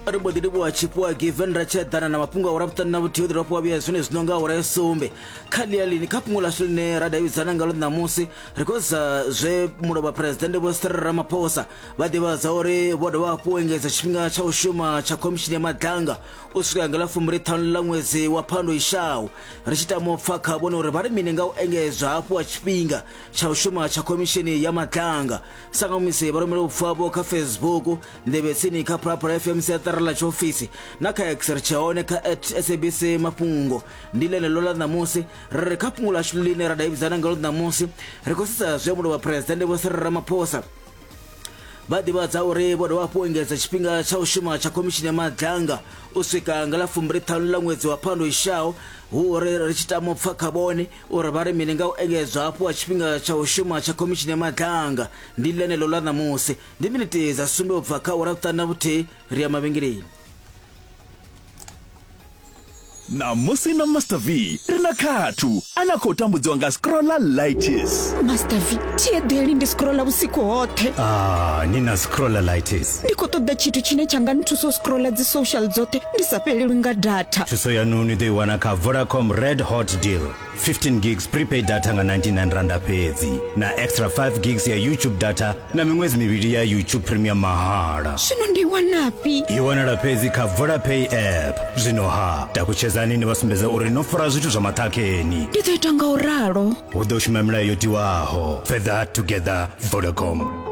Ri mbo ḓi livhuwa Tshifhiwa Given ra tshi eḓana na mafhungo a ura vhuṱanu na vhuthihi u ḓo dovha vhuya zwine zwino nga awara ya sumbe kha ḽia lini kha fhungo ḽashu ḽine ra davhidzana ngalo ṋamusi ri khou sa zwe mulovha phuresidennde Vho Cyril Ramaphosa vha ḓivhadza uri vho dovha hafhu u engedza tshifhinga tsha u shuma tsha khomishini ya Madlanga u swika nga ḽa fumbili ṱhanu ḽa ṅwedzi wa Phando ishaho. Ri tshi tama u pfa kha vhone uri vha ri mini nga u engedzwa hafhu ha tshifhinga tsha u shuma tsha khomishini ya Madlanga. Sa nga musi vha rumela vhupfi havho kha Facebook, nḓevhe tsini kha Phalaphala FM siaṱari ḽa tshiofisi na kha X ri tshe hone kha at SABC Mafhungo. Ndi ḽeneḽo ḽa ṋamusi ri ri kha fhungo ḽashu ḽine ra davhidzana ngalo ṋamusi ri khou sedza zwe mulovha Phresidennde Vho Cyril Ramaphosa vha ḓivhadza uri vho dovha hafhu u engedza tshifhinga tsha u shuma tsha khomishini ya Madlanga u swika nga ḽa fumbili ṱhanu ḽa ṅwedzi wa Phando ishaho hu uri ri tshi tama u pfa kha vhone uri vha ri mini nga u engedzwa hafhu ha tshifhinga tsha u shuma tsha khomishini ya Madlanga. Ndi ḽeneḽo ḽa ṋamusi. Ndi miniti dza sumbe u bva kha awara vhuṱanu na vhuthihi ri ya mavhengeleni. Ṋamusi na Master V ri na Khathu ane a khou tambudziwa nga scrollalitis. Master V, thi eḓeli ndi scrolla vhusiku hoṱhe. Ah, ni na scrollalitis. Ndi khou ṱoḓa tshithu tshine tsha nga nthusa u scrolla dzi social dzoṱhe ndi sa fhelelwi nga data. Thuso yanu ni ḓo i wana kha Vodacom Red Hot Deal. 15 gigs prepaid data nga 99 randa fhedzi na extra 5 gigs ya YouTube data na miṅwedzi mivhili ya YouTube Premium mahala. Zwino ndi wanafhi? I wanala fhedzi kha Vodapay app. Zwino ha, takutshedzani ni vha sumbedze uri no fara zwithu zwa maṱhakheni. Ndi ḓo ita nga u ralo. Hu ḓo shuma milayo yo tiwaho. Further together, Vodacom.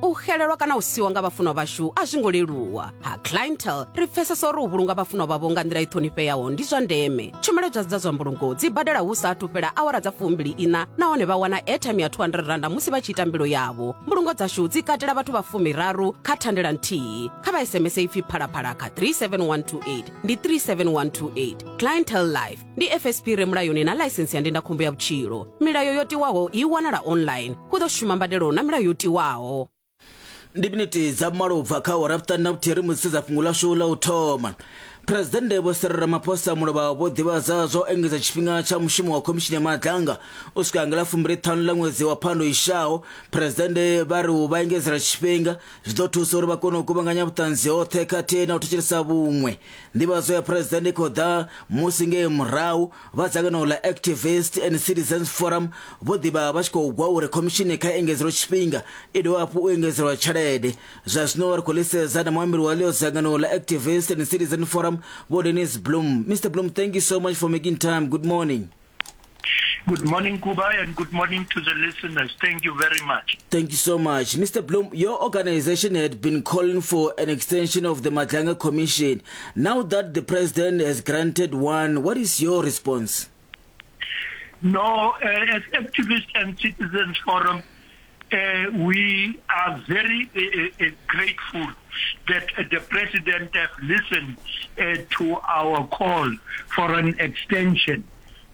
U xelelwa kana u siwa nga vhafunwa vhashu a zwi ngo leluwa. Ha Clientele ri pfesesa uri u vhulunga vhafunwa vhavho nga nḓila i ṱhonifheaho ndi zwa ndeme. Tshumelo dza dza zwa mbulungo dzi badela hu sa athu fhela awara dza fumbili iṋa nahone vha wana airtime ya 200 randa musi vha tshi ita mbilo yavho. Mbulungo dzashu dzi katela vhathu vha fumiraru kha thandela nthihi. Kha vha SMS ipfi Phalaphala kha 37128 ndi 37128. Clientele Life ndi FSP re mulayoni na ḽaisensi ya ndindakhombo ya vhutshilo. Milayo yo tiwaho i wanala online. Hu ḓo shuma mbadelo na milayo yo tiwaho. Ndi miniti dza malo u bva kha awara vhuṱanu na vhuthihi ri musi sedza fhungo ḽashu ḽa u thoma. Phresidennde Vho Cyril Ramaphosa mulovha vho ḓivhadza zwa u engedza tshifhinga tsha mushumo wa khomishini ya Madlanga u swika nga ḽa fumbili ṱhanu ḽa ṅwedzi wa Phando ishaho. Phresidennde vha ri u vha engedzela tshifhinga zwi ḓo thusa uri vha kone u kuvhanganya vhuṱanzi hoṱhe khathihi na u thetshelesa vhuṅwe. Nḓivhadzo ya Phresidennde i khou ḓa musi ngei murahu vha dzangano ḽa Activist and Citizens Forum vho ḓivha vha tshi khou gwa uri khomishini kha i engedzelwe tshifhinga i dovhe hafhu u engedzelwa tshelede. Zwa zwino ri khou ḽisedza na muambeli wa ḽio dzangano ḽa Activist and Citizen Forum Vho Dennis Bloem. Mister Bloem, thank you so much for making time. Good morning. Good morning, Kuba, and good morning to the listeners. Thank you very much. Thank you so much. Mr. Bloem, your organization had been calling for an extension of the Madlanga Commission. Now that the president has granted one, what is your response? No, as Activists and Citizens Forum, we are very grateful that the president has listened to our call for an extension.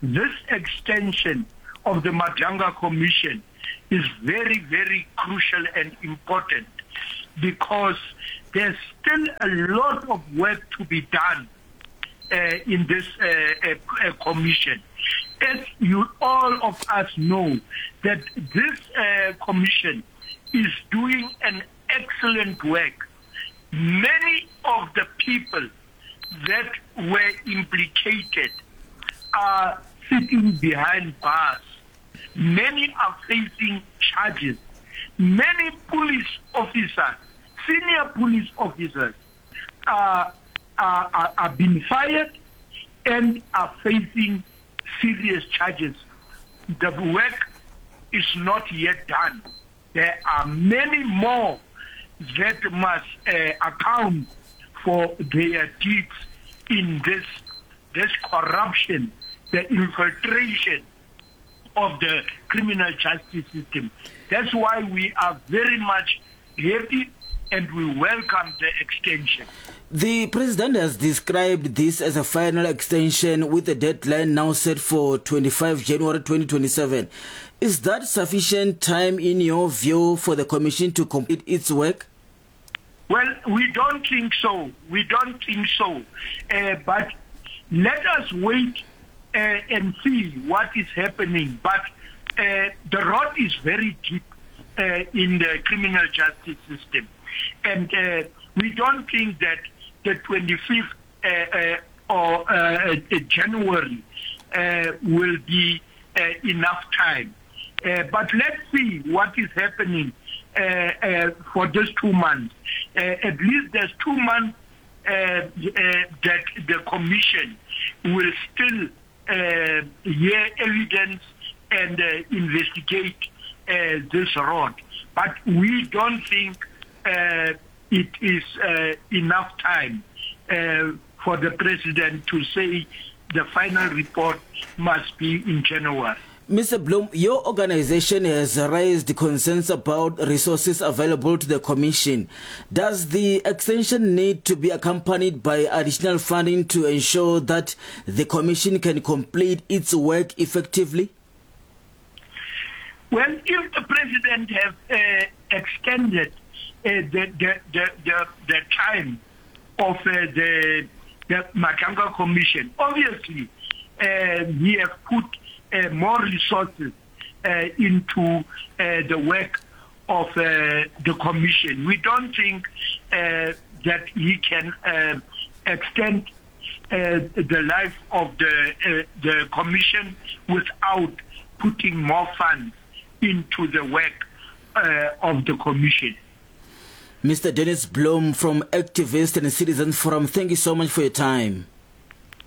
This extension of the Madlanga Commission is very, very crucial and important because there's still a lot of work to be done in this commission. As you all of us know, that this commission is doing an excellent work. Many of the people that were implicated are sitting behind bars. Many are facing charges. Many police officers, senior police officers, are, are, are, are being fired and are facing serious charges. The work is not yet done. There are many more that must account for their deeds in this, this corruption, the infiltration of the criminal justice system. That's why we are very much happy and we welcome the extension. The president has described this as a final extension with a deadline now set for 25 January 2027. Is that sufficient time in your view for the commission to complete its work? Well, we don't think so. We don't think so. But let us wait and see what is happening. But the rot is very deep in the criminal justice system. And uh, we don't think that the 25th uh, uh, or uh, uh, January uh, will be uh, enough time. Uh, but let's see what is happening uh, uh, for these two months. Uh, at least there's two months uh, uh, that the commission will still uh, hear evidence and uh, investigate uh, this road. But we don't think uh, it is uh, enough time uh, for the president to say the final report must be in January. Mr. Bloem, your organization has raised concerns about resources available to the Commission. Does the extension need to be accompanied by additional funding to ensure that the Commission can complete its work effectively? Well, if the President has uh, extended uh, the, the, the, the, the time of uh, the, the Madlanga Commission, obviously uh, we have put uh, more resources uh, into uh, the work of uh, the commission. We don't think uh, that he can uh, extend uh, the life of the, uh, the commission without putting more funds into the work uh, of the commission. Mr. Dennis Bloem from Activist and Citizen Forum, thank you so much for your time.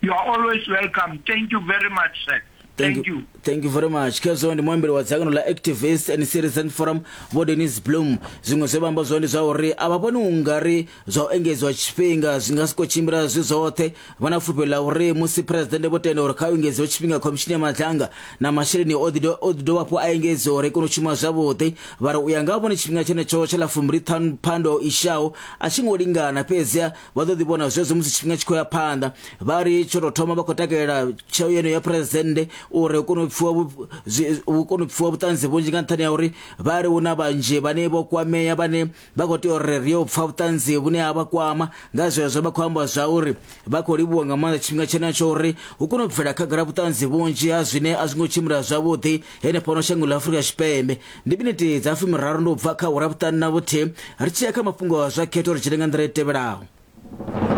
You are always welcome. Thank you very much, sir. Thank, you. Thank you very much. Khezwo ndi muambeli wa dzangano ḽa Activist and Citizen Forum Vho Dennis Bloem. Zwiṅwe zwe vha amba zwone ndi zwa uri a vha vhoni u nga ri zwa u engedziwa tshifhinga zwi nga sokou tshimbila zwi zwoṱhe. Vha na fulufhelo ḽa uri musi Phresidennde vho tenda uri kha u engedziwe tshifhinga khomishini ya Madlanga na masheleni o ḓi o ḓi dovha hafhu a engedziwa uri i kone u shuma zwavhuḓi. Vha ri u ya nga ha vhone tshifhinga tshenetsho tsha ḽa fumbili ṱhanu Phando i shaho a tshi ngo lingana fhedzi vha ḓo ḓi vhona zwezwo musi tshifhinga tshi khou ya phanḓa. Vha ri tsho tou thoma vha khou takalela tsheo yeneyo ya Phresidennde uri hu kone u pfiwa hu kone u pfiwa vhuṱanzi vhunzhi nga nṱhani ha uri vha ri hu na vhanzhi vhane vho kwamea vhane vha khou tea uri ri yo pfa vhuṱanzi vhune ha vha kwama. Nga zwezwo vha khou amba zwa uri vha khou livhuwa nga maanḓa tshifhinga tshenetsho uri hu kone u bvela khagala vhuṱanzi vhunzhi ha zwine a zwi ngo tshimbila zwavhuḓi henefhano shangoni ḽa Afrika Tshipembe. Ndi miniti dza fumiraru ndi u bva kha awara vhuṱanu na vhuthihi ri tshi ya kha mafhungo a zwa khetho ri dzhene nga nḓila i tevhelaho.